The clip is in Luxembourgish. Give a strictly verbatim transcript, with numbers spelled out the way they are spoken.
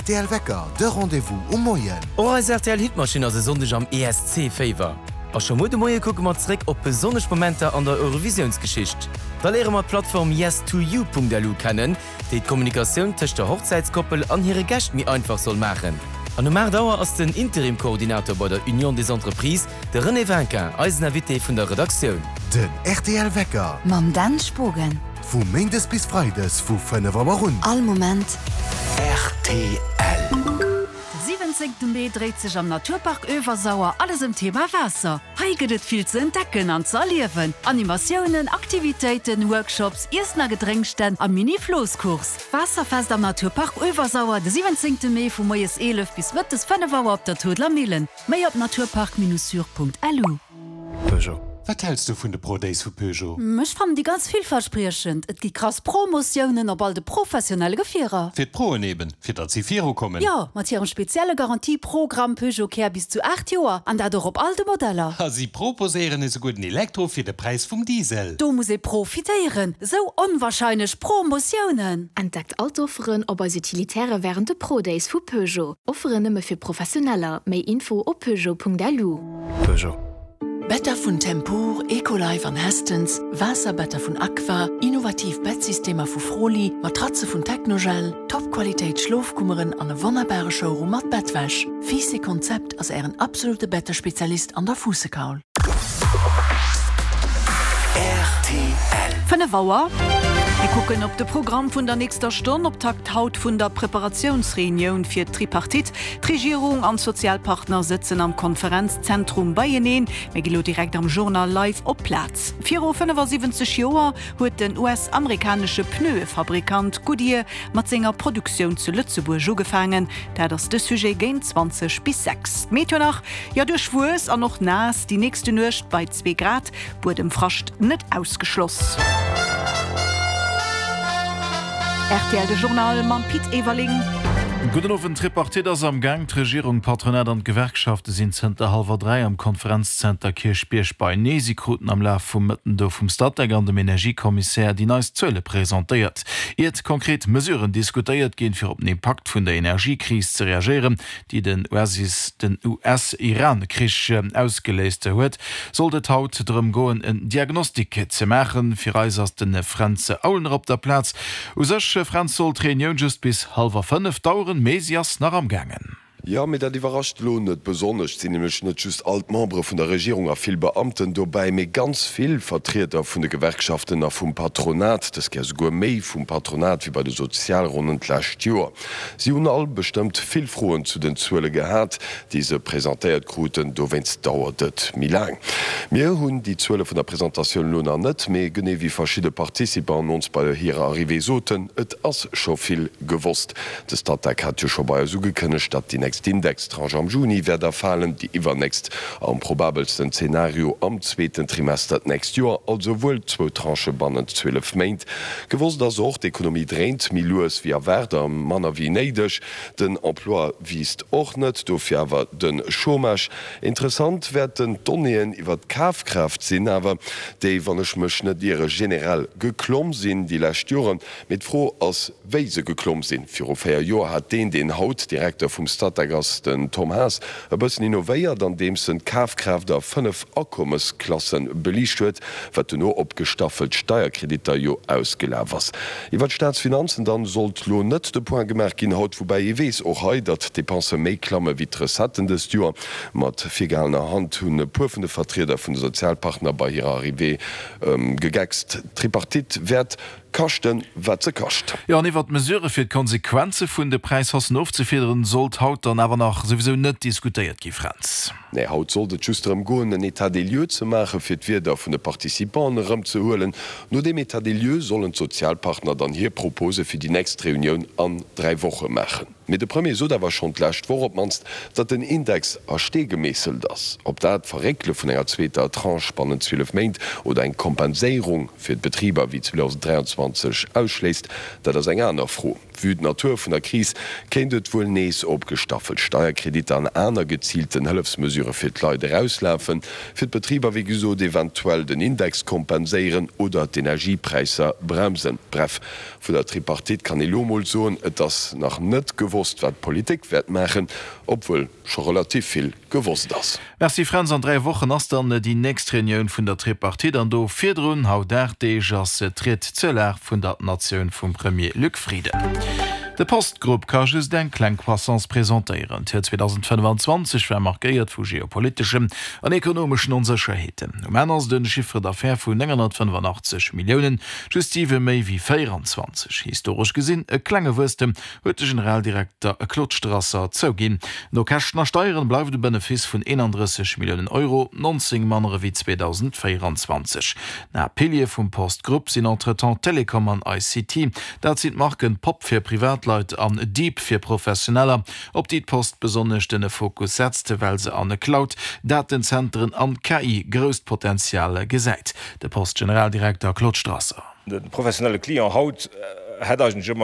R T L Wecker, de Rendez-vous um Moien. Och eis R T L Hitmaschinn ass e Sonndeg am E S C-Féiwer. A scho muer de Moie kucke mer zréck op besonnesch Momenter an der Eurovisiounsgeschicht. Da léiere mer d'Plattform yes two you Punkt L U kennen, déi d'Kommunikatioun tëscht der Hochzäitskoppel an hire Gäscht méi einfach soll maachen. An um aacht Auer ass den Interim-Koordinator bei der Union des Entreprises, de René Vinquin, eisen Invité vun der Redaktioun. Den R T L Wecker. Mam Dan Spogen. Vu Méindes bis Freides vu fënnef Auer un. All Moment. R T L. De siwwenzéngte Mee dréit sech am Naturpark Öewersauer alles ëm d'Thema Waasser. Hei gëtt et vill ze entdecken an ze erliewen. Animatiounen, Aktivitéiten, Workshops, Iessen a Gedrénksstänn a Mini-Floosscourse. Waasserfest am Naturpark Öewersauer de siwwenzéngte Mee vu moies eelef bis mëttes fënnef Auer op der Toodler Millen. Méi op naturpark-syr Punkt L U. Peugeot. Wat häls du vun de Pro Days vu Peugeot? Ech fannen déi ganz villverspriechend. Et gi krass Promotiounen op all de professionelle Gefierer. Fir d'Proen eben, fir datt si virukommen. Jo, mat hirem spezielle Garantieprogramm Peugeot Care bis zu aacht Joer an dat och op all de Modeller. A si proposéieren esouguer den Elektro fir de Präis vum Diesel. Do muss ee profitéieren. Sou onwahrscheinlech Promotiounen. Entdeckt all d'Offeren op eis Utilitäre wärend de Pro Days vu Peugeot. Offeren nëmme fir Professioneller. Méi Info op peugeot Punkt L U. Peugeot. Better vun Tempur, Ecolife an Hästens, Waasserbetter vun Aqua, innovativ Bettsystemer vu Froli, Matratze vun Technogel, Topqualitéit Schlofkummeren an e wonnerbare Showroom mat Bettwäsch. Fiiss Konzept ass ären absolute Bettespezialist an der Fuussekaul. R T L. Fënnef Auer. Mir kucken op de Programm vun der nächster Stonn, Optakt haut vun der Preparatiounsreunioun fir d'Tripartite. D'Regierung an d'Sozialpartner sëtzen am Konferenzzentrum beieneen. Mir gi lo direkt am Journal live op d'Plaz. Viru fënnefasiwwenzeg Joer huet den U S-amerikanesche Pneuefabrikant Goodyear mat senger Produktioun zu Lëtzebuerg ugefaangen. Dat ass de Sujet géint zwanzeg bis sechs. Meteo nach, jo duerchwuess an och naass, déi nächste Nuecht bei zwee Grad, Buedemfrascht net ausgeschloss. R T L de Journal mam Pit Everling. Gudden Owend. D'Tripartite ass am Gaang. D'Regierung, d'Patronat an d'Gewerkschafte sinn zënter hallwer dräi am Konferenzzenter Kierchbierg beieneen. Si kruten am Laf vum Mëtten do vum Statec an dem Energiekommissär déi neist Zuele presentéiert. Iert konkret Mesuren diskutéiert ginn, fir op den Impakt vun der Energiekris ze reagéieren, déi den den U S-Iran-Krich ausgeléist huet, sollt et haut drëm goen, en Diagnostik ze maachen. Fir eis ass de Fränz Aulner op der Plaz. U sech, Fränz, sollt d'Reunioun just bis hallwer fënnef daueren, mee si ass nach am gaangen. Jo, mee dat iwwerrascht elo net besonnesch. Et sinn nämlech net just all d'Membere vun der Regierung a vill Beamten dobäi, mee ganz vill Vertrieder vun de Gewerkschaften a vum Patronat, dës Kéier souguer méi vum Patronat wéi bei de Sozialronnen d'lescht Joer. Si hunn all bestëmmt vill Froen zu den Zuele gehat, déi se presentéiert kruten, dowéinst dauert et méi laang. Mir hunn déi Zuele vun der Presentatioun elo nach net, mee genee wéi verschidde Participanten ons bei hirer Arrivée soten, et ass scho vill gewosst. De Statec hat jo scho bei eis ugekënnegt, datt déi nächst Indextranche am Juni wäert erfalen, déi iwwernächst am probabelsten Zenario am zweeten Trimester d'nächst Joer, also wuel zwou Tranchë bannent zwielef Méint. Gewosst ass och, d'Ekonomie dréint méi lues wéi erwaart a manner wéi néideg. Den Emploi wiisst och net, dofir awer de Chômage. Interessant wäerten d'Donnéeën iwwer d'Kafkraaft sinn awer, déi, wann ech mech net iere, generell geklomm sinn déi lescht Joren. Mee d'Fro ass, wéi se geklomm sinn. Viru véier Joer hat deen, deen haut Direkter vum Statec ass, den Tom Haas, e bëssen innovéiert, andeems en d'Kafkraaft a fënnef Akommesklasse beliicht huet, wat duerno op gestaffelt Steierkreditter jo ausgelaf ass. Iwwer d'Staatsfinanzen dann sollt lo net de Point gemaach ginn haut, woubäi ee weess och hei, datt d'Depensë méi klamme wéi d'Recetten dëst Joer. Mat virgehalener Hand hunn e puer vun de Vertrieder vun de Sozialpartner bei hirer Arrivée gegeckst. D'Tripartite wäert kaschten, wat se kascht. Jo, an iwwer d'Mesurë fir d'Konsequenze vun de Präishaussen ofzefiederen, sollt haut dann awer nach souwisou net diskutéiert gi, Fränz. Nee, haut sollt et just drëm goen, en État des lieux ze maachen, fir d'Wierder vun de Participanten erëmzehuelen. No deem État des lieux sollen d'Sozialpartner dann hir Propose fir déi nächst Reunioun an dräi Woche maachen. Mee de Premier sot awer schonn d'lescht Woch op d'mannst, datt den Index a Stee gemeesselt ass. Ob dat d'Verréckele vun enger zweeter Tranche bannent zwielef Méint oder eng Kompenséierung fir d'Betriber wéi zweedausend dräianzwanzeg ausschléisst, dat ass eng aner Fro. Vue d'Natur vun der Kris kéint et wuel nees op gestaffelt Steierkreditter an aner geziilten Hëllefsmesurë fir d'Leit erauslafen, fir d'Betriber wéi gesot eventuell den Index kompenséieren oder d'Energiepräisser bremsen. Bref, vun der Tripartite kann ee lo mol soen, et ass nach net gewosst, gewosst, wat d'Politik wäert maachen, obwuel scho relativ vill gewosst ass. Merci Fränz, an dräi Wochen ass dann déi nächst Reunioun vun der Tripartite an do virdrun, haut aacht Deeg, ass d'Ried zur Lag vun der Natioun vum Premier Luc Frieden. De Post Group ka just eng kleng Croissance presentéieren. D'Joer zweedausendfënnefanzwanzeg war markéiert vu geopoliteschen an ekonomeschen Onsécherheeten. Um Enn ass de Chiffre d'affaires vun nénghonnertfënnefanachtzeg Milliounen just siwe méi wéi véieranzwanzeg. Historesch gesinn e klenge Wuesstem, huet de Generaldirekter Claude Strasser zouginn. No Käschten a Steieren bleift e Benefice vun eenandrësseg Milliounen Euro, nonzéng manner ewéi zweedausendvéieranzwanzeg. Na Piliere vum Post Group sinn entretemps Telekom an I C T. Dat sinn d'Marken Pop fir Privatleit an Deep fir Professioneller, op déi d'Post besonnesch den Fokus setzt, well se an Cloud, Datenzenteren an K I grousst Potenzial gesäit. De Post-Generaldirekter Claude Strasser. De professionelle Client haut hätt eigentlech ëmmer